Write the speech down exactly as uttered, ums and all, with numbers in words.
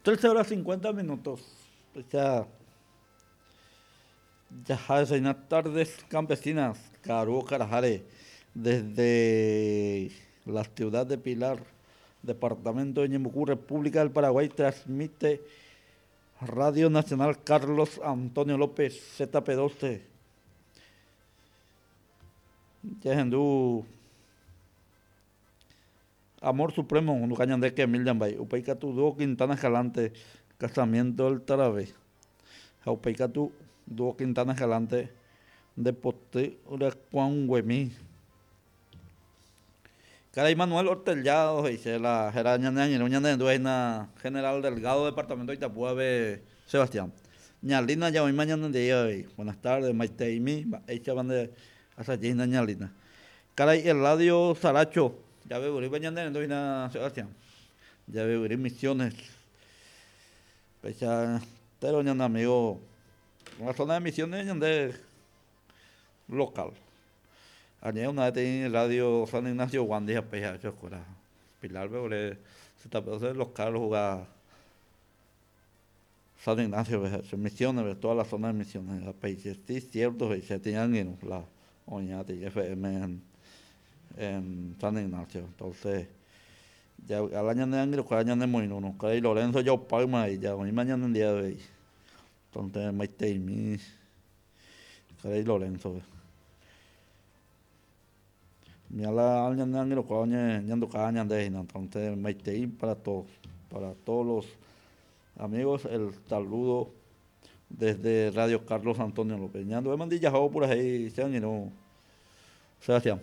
Trece horas cincuenta minutos. Ya, ya es tardes campesinas, Caro Carajare, desde la ciudad de Pilar, departamento de Ñeembucú, República del Paraguay, transmite Radio Nacional Carlos Antonio López, Z P doce. Yahendú Amor Supremo, Nucañandé, que Emilian Bay, Upaicatu, Dúo Quintana Escalante, Casamiento del Tarabé, Upaicatu, Dúo Quintana Escalante, de Pote, Uracuanguemí. Caray Manuel Ortellado, dice la Jeraña Ñaña, General Delgado, Departamento de Itapúa, de Sebastián. Ñalina, ya hoy mañana de hoy. Buenas tardes, Maite y mi, hecha van de Asayina Ñalina. Caray, Eladio Saracho, ya veo, mañana de Sebastián. Ya veo, Misiones. Pecha, pero ñana amigo, la zona de Misiones, de local. Añade una vez en Radio San Ignacio Guandija, peja, chocora. Pilar, veo, le, se tapó de los carros jugar San Ignacio, peja, Misiones, ve, toda la zona de Misiones, la peja, sí, cierto, se tenían en la Oñate F M en, en San Ignacio. Entonces, ya al año de Anglo, al año de Moino, no, que Lorenzo yo Palma y ya hoy mañana en día de hoy. Entonces, Maite y mi, que Lorenzo, ve. Mi ala año de Anglo, cuando año, ñando cada año de Gina. Entonces, Maite y para todos, para todos los amigos, el saludo desde Radio Carlos Antonio López. Ñando de Mandilla, por ahí, se han ido. Sebastián.